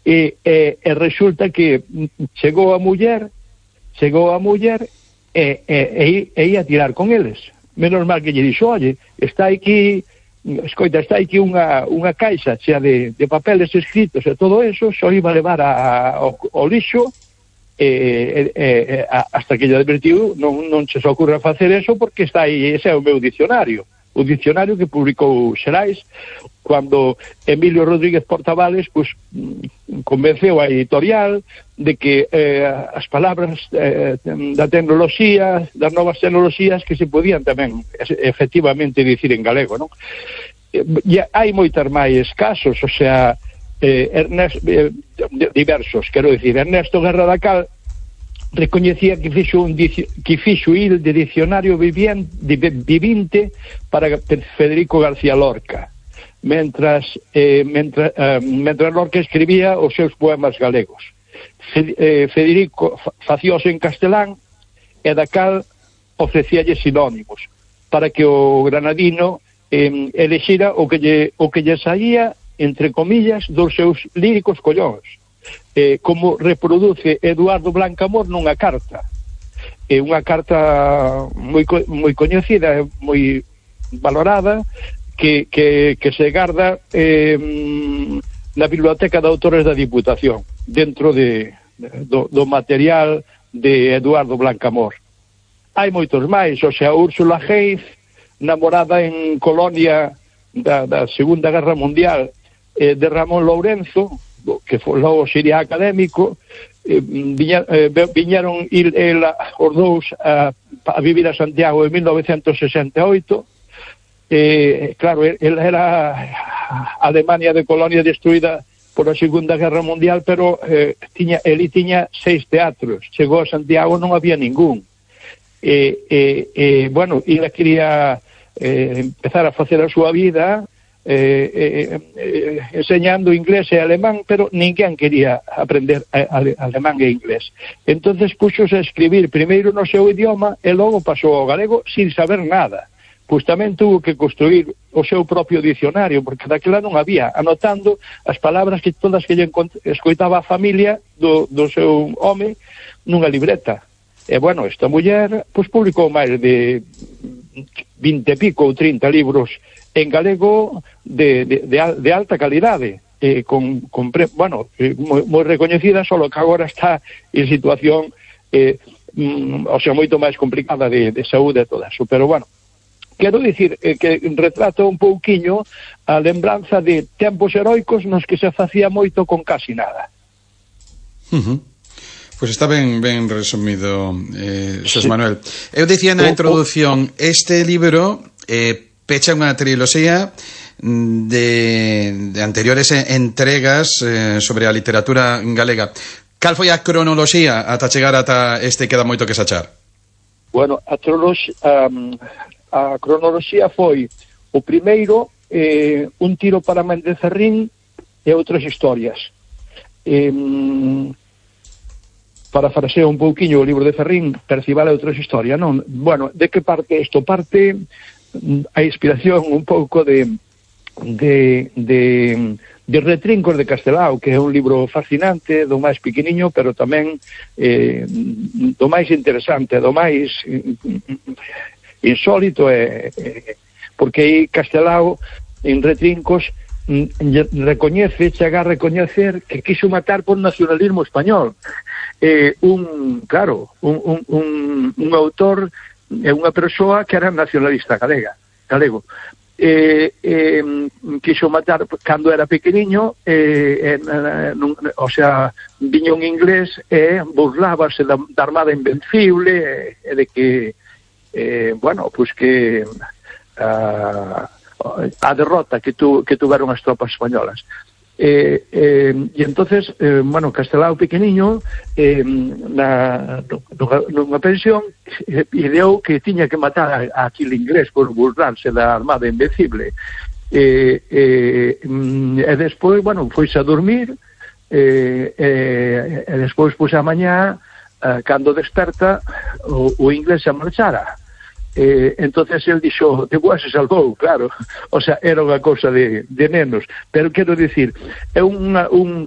e resulta que chegou a muller e ia tirar con eles. Menos mal que lle dixo, oye, está aquí unha caixa chea de papeles escritos e todo eso, só iba a levar ao lixo, hasta que lle advertiu, non se ocurra facer eso, porque está aí, ese é o meu dicionario, o dicionario que publicou Xerais, cando Emilio Rodríguez Portavales convenceu a editorial de que as palabras da tecnoloxía, das novas tecnoloxías, que se podían tamén efectivamente dicir en galego, non? E hai moitas máis casos, o sea, diversos, quero dicir, Ernesto Guerra da Cal recoñecía que fixo il de dicionario vivinte para Federico García Lorca, mentras Lorca escribía os seus poemas galegos. Federico facíos en castelán e da Cal ofrecíalle sinónimos para que o granadino elexira o que lle saía, entre comillas, dos seus líricos collóns, como reproduce Eduardo Blancamor nunha carta, unha carta moi coñecida, moi valorada, que se garda na Biblioteca de Autores da Diputación, dentro do material de Eduardo Blancamor. Hai moitos máis, o sea, Úrsula Hayes, namorada en Colonia da Segunda Guerra Mundial de Ramón Lourenço, que logo sería académico, viñeron os dous a vivir a Santiago en 1968. Claro, ela era a Alemania de Colonia destruída por a Segunda Guerra Mundial, pero ele tiña 6 teatros, chegou a Santiago, non había ningún. Bueno, ela quería empezar a facer a súa vida enseñando inglés e alemán, pero ninguén quería aprender alemán e inglés. Entonces puxose a escribir primeiro no seu idioma e logo pasou ao galego sin saber nada. Pois tamén tuvo que construir o seu propio dicionario, porque daquela non había, anotando as palabras que todas que lle escoitaba a familia do seu home nunha libreta. E bueno, esta muller pois publicou máis de 20 e pico ou 30 libros en galego de alta calidade, moi recoñecida, solo que agora está en situación o sea, moito máis complicada de saúde e todo eso, pero bueno, quero dicir que retrata un pouquiño a lembranza de tempos heroicos nos que se facía moito con casi nada. Pois está ben resumido, Xosé Manuel. Eu dicía na introdución, este libro pecha unha triloxía de anteriores entregas sobre a literatura galega. Cal foi a cronoloxía ata chegar ata este Queda moito que sachar? Bueno, a cronoloxía foi o primeiro, Un tiro para Méndez Cerrín e outras historias. Parafraseo un pouquiño o libro de Ferrín, Percival e outras historias, non? Bueno, de que parte isto? Parte a inspiración un pouco de Retrincos de Castelao, que é un libro fascinante, do máis pequeniño, pero tamén do máis interesante, do máis insólito, porque aí Castelao, en Retrincos, chega a recoñecer que quiso matar por nacionalismo español. Un autor é unha persoa que era nacionalista galego. Quixo matar cando era pequeniño, o sea, viña un inglés e burlábase da Armada Invencible e de que bueno, pois que a derrota que tuveron as tropas españolas. E entonces, bueno, Castelao pequeniño nunha pensión ideou que tiña que matar a aquel inglés por burlarse da Armada Invencible, e despois, bueno, foise a dormir, e despois, pois, a mañá, cando desperta, o inglés se marchara. Entonces el dixo, de boa se salvou, claro, o sea, era unha cousa de nenos, pero quero dicir, é un